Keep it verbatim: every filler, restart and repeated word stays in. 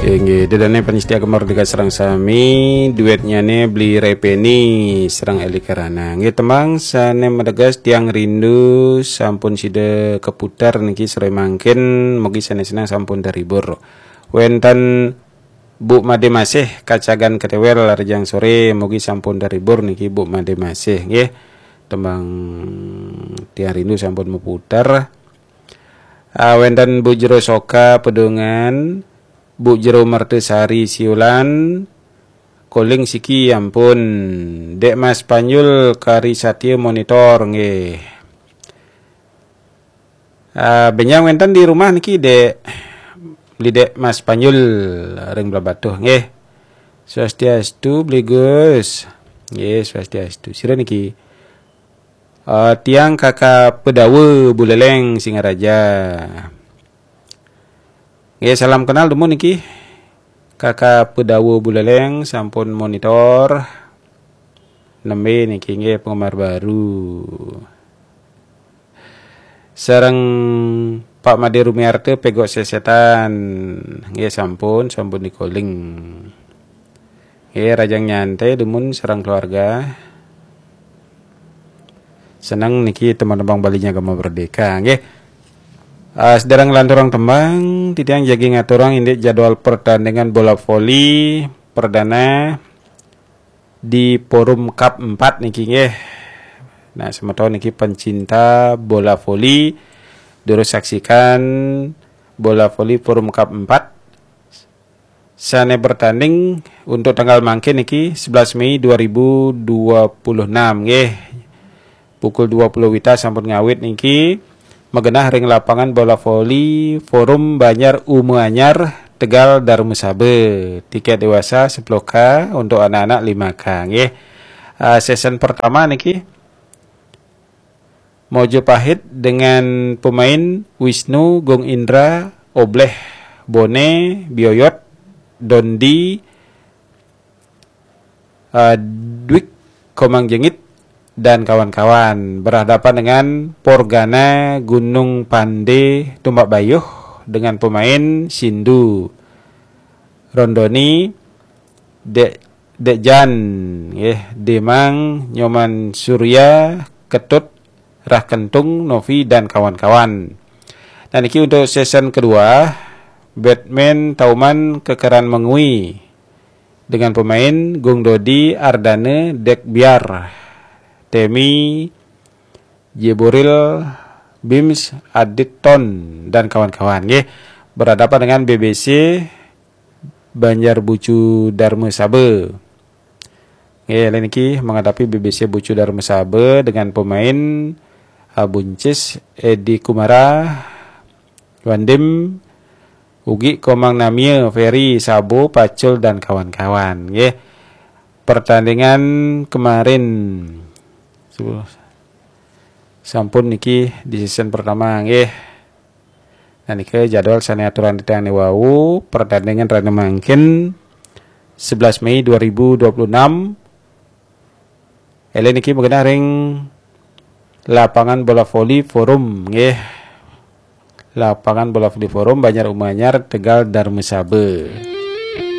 Inggih, dedane panyestia Gema Merdeka sareng sami, duetnyane Bli Repeni sareng Eli Karana. Nggih, tembang sane mateges Tiang Rindu sampun sida keputar niki sore mangkin, mugi sane seneng sampun terhibur. Wenten Bu Made Masih Kacagan Ketewel rejang sore, mugi sampun terhibur niki Bu Made Masih nggih. Tembang Tiang Rindu sampun meputar. Ah, wenten Bu Jero Soka Pedungan, Bu Jero Mertesari Siulan, koling siki ampun. Dek Mas Panjul Kari Satya monitor nggih. Ah, benjang wenten di rumah niki Dek, Beli Dek Mas Panjul ring Blahbatuh nggih. Swastiastu Beli Gus. Nggih, swastiastu. Sira niki? Ah, tiang Kakak Pedawa Buleleng Singaraja. Nggih, salam kenal dumun niki. Kakak Pedawa Buleleng sampun monitor. Nembe niki nggih penggemar baru. Sareng Pak Made Rumiarta Pegok Sesetan. Nggih sampun, sampun dikoling. Nggih, rajang nyantai dumun sareng keluarga. Seneng niki tembang-tembang Balinya Gema Merdeka nggih. Ah, sedereng lanturang tembang, titiang jagi ngaturang indik jadwal pertandingan bola voli perdana di Forum Cup empat niki nggih. Nah, semeton niki pencinta bola voli, durus saksikan bola voli Forum Cup empat sane bertanding untuk tanggal mangkin niki sebelas Mei dua ribu dua puluh enam nggih. Pukul dua puluh wita sampun ngawit niki magenah ring lapangan bola voli Forum Banjar Uma Anyar, Tegal, Darmasaba. Tiket dewasa sepuluh K, untuk anak-anak lima K nggih. Ah, season pertama niki Majapahit dengan pemain Wisnu, Gung Indra, Obleh, Bone, Bioyot, Dondi, eh, Dwik, Komang Jengit, dan kawan-kawan berhadapan dengan Porgana Gunung Pande, Tumbak Bayuh, dengan pemain Sindu, Rondoni, Dek Dek Jan, nggih, Demang, Nyoman Surya, Ketut, Rah Kentung, Novi, dan kawan-kawan. Nah, niki untuk season kedua, Batman Tauman Kekeran Mengwi dengan pemain Gung Dodi, Ardane, Dek Biar, Temi, Jeboril, Bims, Adit Ton, dan kawan-kawan nggih. Berhadapan dengan B B C Banjar Bucu Darmasaba. Nggih, lain niki menghadapi B B C Bucu Darmasaba dengan pemain, ah, Buncis, Edi Kumara, Wandim, Ugi, Komang Namia, Ferry, Sabo, Pacul, dan kawan-kawan nggih. Pertandingan kemarin sampun niki di season pertama nggih. Nah, niki jadwal sane aturan titiang ne wau, pertandingan rena mangkin sebelas Mei dua ribu dua puluh enam. Ele niki magenah ring lapangan bola voli Forum nggih. Lapangan bola voli Forum Banjar Uma Anyar, Tegal, Darmasaba.